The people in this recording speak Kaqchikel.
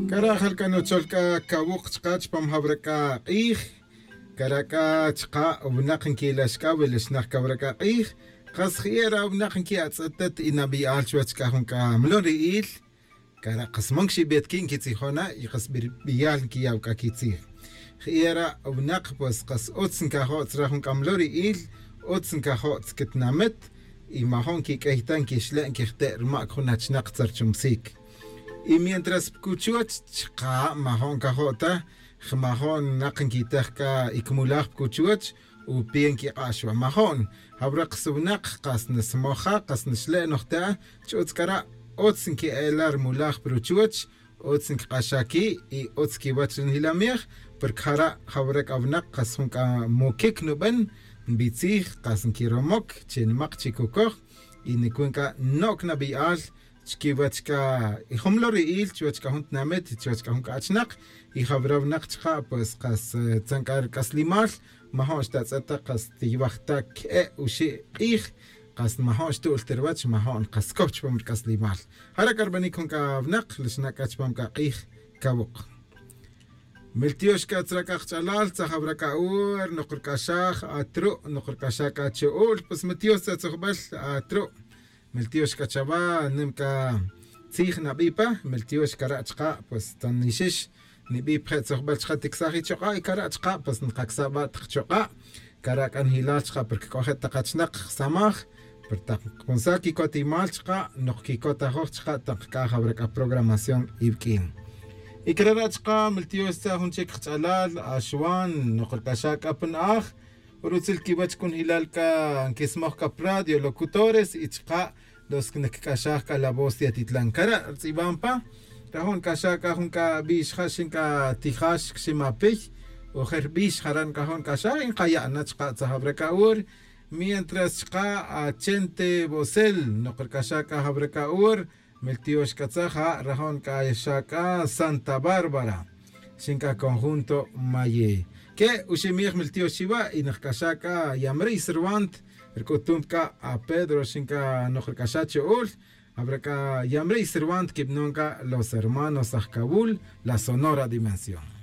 Kara' jalka nuchol k'a kawuq chqa chpam jawraka q'ij, kara' k'a chqa winaq nkilax k'a wilixnaq kawraka q'ij, qas ji'era winaq nki'atz'etet inab'i'al chuwach k'a jun k'a mlonri'il, kara' qas man kxib'et ki' nkitzijona y qas b'iyal nkiyaw k'a kitzij. Ji'era winaq pues qas utz nkajo' tzra jun k'a mlonri'il, utz nkajo' tzkitnamit y majon kik'eyta nkixle' nkijte' rma' jun achnaq tzarchumsik. Y mientras pkuchuach chqa majon kajo'ta, jmajon naq nkitej ka ikmulaj pkuchuach upien kiq'axwa majon. Hawraq suwnaq qas nismoja qas nixle' nojta ch'utz kara' utz nki'elar mulaj pruchuach, utz nkiq'axaki y utz kiwach rinjilamiej, porque jara' hawraq awnaq qas jun k'a mukik nub'an nb'itzij qas nkiromok chinmaq chikukoj y nikun k'a nok nab'i'al chkiwach k'a y jumlo ri'il chuwach k'a jun tinamit chuwach k'a jun k'achnaq y jawrawnaq chqa pues qas tzank'ar k'aslimal majon xtatz'eta qas tiywajta k'e uxi' q'ij qas majon xtu'l tirwach majon qas kow chpam rk'aslimal jara k'arb'anik jun k'awnaq lixna k'a chpam k'a q'ij kawuq Miltiox k'atzrak'aj ch'alal tzajawrak'a'ur noqrk'axaj atru' noqrk'axaj k'a chu'ul pues mitios tzatzujb'al atru' Miltiox k'achawa nimka tzij nab'ipa miltiox kara' chqa pues tanixix nib'ip je' tzujb'al chqa tiksaj ichoq'a' y kara' chqa pues nqaksab'a taq choq'a' kara' k'an hilal chqa porque k'oje taqachnaq samaj per taq kunsa kikotimal chqa noq kikotajoj chqa taq k'aj hawrak'a programación iwk'in. Y krara' chqa miltiox tza jun chik qch'alal axwan noqrk'axa k'apan aj Urutzil kiwach kun hilal ka nkismoj kap radio locutores y chqa los nk'axaj ka la voz de Atitlán kara' rtz'ib'ampa rajun k'axa k'a jun k'a b'ix ja xin k'a tijax ximapiy ojer b'ix jaran k'ajon k'axa inqaya'na chqa tzajab'raka'ur mientras chqa a Chente Bosel noqrk'axa k'a jab'raka'ur miltiox k'atzaja rajun k'axa k'a Santa Bárbara xin k'a conjunto Maye ke uximij miltiox chiwa y naqk'axa k'a Yamrey Cervant rk'utum k'a a Pedro xin k'a noqrk'axa chu'ul habrá k'a Yamrey Cervant kib'non k'a los hermanos aj Kabul la Sonora Dimensión.